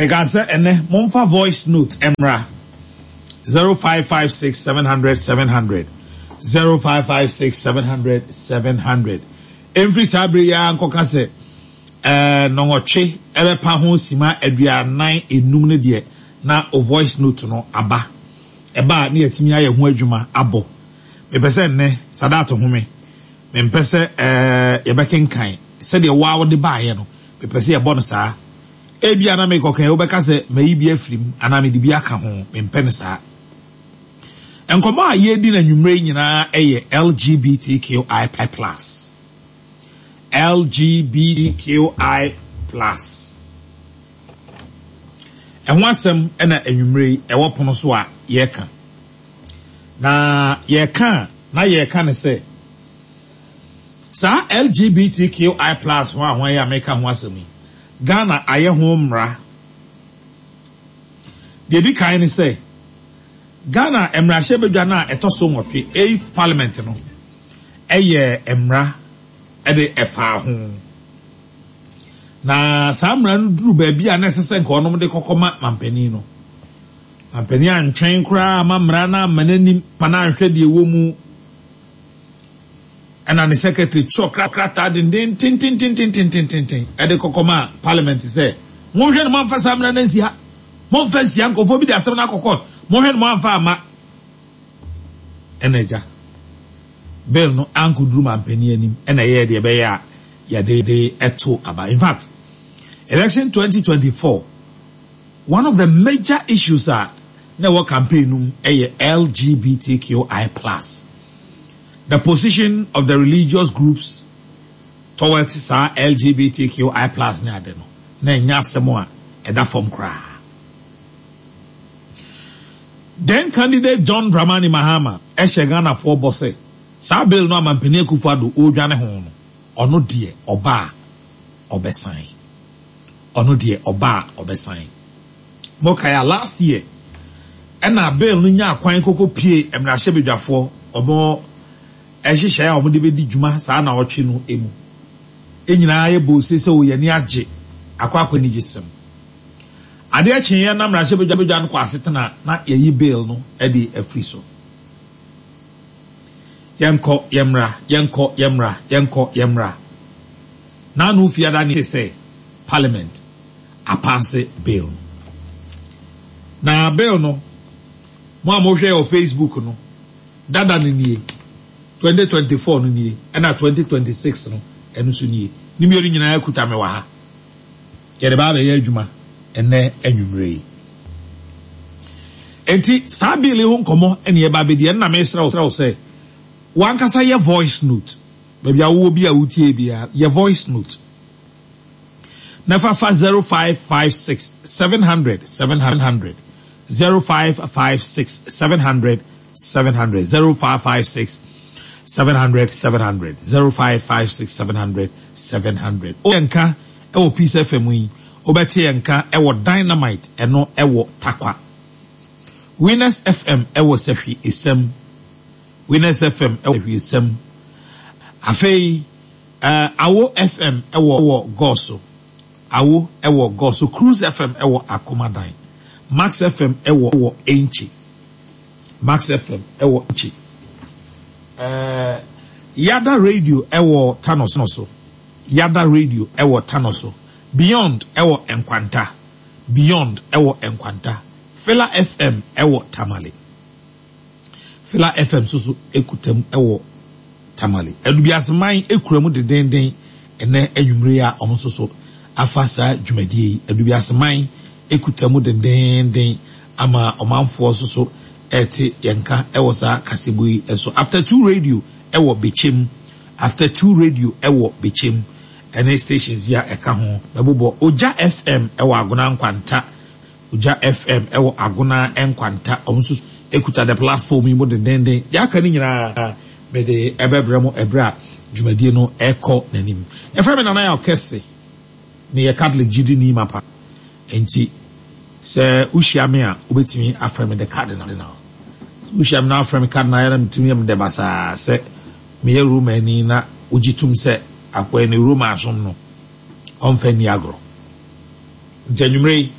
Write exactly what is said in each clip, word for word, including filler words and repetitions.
Meka sɛ ɛnɛ momfa voice note mmra zero five five six seven hundred seven hundred zero five five six seven hundred seven hundred. Ɛmfiri saa bere yi ara nkɔka sɛ ɛɛ nnɔnwɔtwe ɛbɛpa ho sima aduanan enum no deɛ na o voice note no aba. Ɛba a ne yɛtumi ayɛ ho adwuma abɔ. Mepɛ sɛ nnɛ Sadat home. Mempɛ sɛ ɛɛ yɛbɛkenkan sɛdeɛ waa wode baeɛ no. Mepɛ sɛ yɛbɔ no saa. Ebia na mekɔkan wobɛka sɛ mayi bi afiri mu anaa mede bi aka ho. Mempɛ no saa. Nkɔmmɔ a yɛredi no anwummerɛ yi nyinaa yɛ L G B T Q I plus. L G B T Q I plus. Ɛho asɛm ɛna anwummerɛ yi ɛwɔ pono so a yɛreka. Na yɛreka a na yɛreka ne sɛ saa L G B T Q I plus ho a ho ayɛ a meka ho asɛm yi, Ghana ayɛ ho mmara. Deɛ di kan ne sɛ Ghana mmarahyɛbadwa no a ɛtɔ so nwɔtwe, eighth Parliament no, ɛyɛ mmara ɛde ɛfaa ho. Na saa mmara no duru baabi a na ɛsɛ sɛ nka ɔnom de kɔkɔma mampanin no. Mampanin antwɛn koraa ama mmara no ama n'anim ma no anhwɛ deɛ ɛwɔ mu. Ɛna ne secretary twerɛ krataa denden tententententententen ɛde kɔkɔma Parliament sɛ monhwɛ no, moamfa saa mmara no ansi ha, momfa nsia nkurɔfoɔ bi de asɛm no akɔ court, monhwɛ no, moamfa amma. Ɛna agya bill no ankɔduru mampanin anim ɛna ɛyɛ deɛ ɛbɛyɛ a yɛde de ɛto aba. In fact, election twenty twenty-four, one of the major issues a na ɛwɔ campaign no mu ɛyɛ L G B T Q I plus, the position of the religious groups towards saa L G B T Q I plus ne ade no na ɛnyɛ asɛm a ɛda fam koraa. Then candidate John Dramani Mahama ɛhyɛ Ghanafoɔ bɔ sɛ saa bill no amampanin Akufo-Addo ɔredwane ho no, ɔno deɛ ɔba a ɔbɛsan, ɔno deɛ ɔba a ɔbɛsan. Mokae a, last year ɛna bill no nya akwan koko pie mmarahyɛbadwafoɔ ɔmo ɛhyehyɛ a ɔmo de bɛdi dwuma saa na ɔtwe no emu. Ɛnyinaa yɛ bose sɛ oyɛ ani agye akɔ akɔ anigye sɛm. Adeɛ kyeeɛ na mmarahyɛbadwa no kɔ asetena na yɛyi bill no de afiri so. Yɛnkɔ yɛmmra, yɛnkɔ yɛmmra, yɛnkɔ yɛmmra. N'ano fiada ne sɛ Parliament apass bill no. Na bill no, mo a mohwɛ wɔ Facebook no, dada no nie, twenty twenty-four no nie, ɛna twenty twenty-six no ɛno nso nie. Ne mmienu nyinaa kuta me wɔ ha. Yɛde ba abɛyɛ adwuma ɛnɛ anwummerɛ yi. Enti saa bill yi ho nkɔmmɔ ɛne yɛba abɛdi. Ɛnna mesrɛ wo sɛ wankasa yɛ voice note. Baabi a wowɔ bi a wotie biara, yɛ voice note na fafa zero five five six seven hundred seven hundred, zero five five six seven hundred seven hundred, zero five five six seven hundred seven hundred, zero five five six seven hundred seven hundred. O nka ɛwɔ Peace F M yi, wobɛte yɛn nka ɛwɔ Dynamite, ɛno ɛwɔ Takwa, Winners F M ɛwɔ Sɛhwi Esɛm, Winners F M ɛwɔ Sɛhwi Esɛm. Afei ɛɛ Awo F M ɛwɔ wɔ Gɔso, Awo ɛwɔ Gɔso, Cruise F M ɛwɔ Akomadan, Max F M ɛwɔ wɔ Enkyi, Max F M ɛwɔ Enkyi, ɛɛ Yada Radio ɛwɔ Tanoso so, Yada Radio ɛwɔ Tanoso, Beyond ɛwɔ Nkwanta, Beyond ɛwɔ Nkwanta, Fila F M ɛwɔ Tamale, Fila F M nso so ekuta mu ɛwɔ Tamale. Adubiaseman ekura mu dendenden ɛnɛ anwummere a wɔn nso so afa saa dwumadie yi. Adubiaseman ekuta mu dendenden ama ɔmanfoɔ nso so ɛte yɛn ka ɛwɔ saa kaseɛbɔ yi ɛso. After Two Radio ɛwɔ Bekyem, After Two Radio ɛwɔ Bekyem ɛne stations yi a ɛka ho bɛbobɔ. Ogya F M ɛwɔ Agona Nkwanta, Ogya F M ɛwɔ Agona Nkwanta, ɔmo nso ekuta the platform yi mu dendenden. Deɛ aka no nyinaa mede ɛbɛbrɛ mo ɛbrɛ a dwumadie no ɛkɔ n'anim. Yɛfrɛ me Nana Yɛ Ɔkɛse, meyɛ Catholic gyidini mapa, nti sɛ wohyia me a wobɛtumi afrɛ me the Cardinal. Wohyia me na afrɛ me Cardinal yɛna metumi yɛ me dɛ basaa sɛ meyɛ Romani na wogye tom sɛ akɔɛ ne Roma asom no ɔmfa nni agorɔ. Nti anwummerɛ yi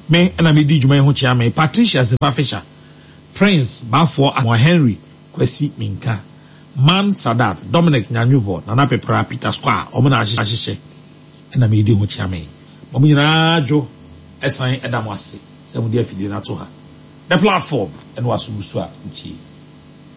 Me ɛna medi dwuma yi ho kyea me Patricia Sefa Fisher, Prince Bafoɔ Asamoah, Henry Kwasi Minka, Man Sadat, Dominic Nyanwevɔ, Nana Pepra, Peter Square, ɔmo na ahyehyɛ ɛna medi ho kyea me. Mo nyinaa dwo ɛsan ɛda mo ase sɛ mode afidie no ato ha. The Platform ɛna waso gu so a wotie.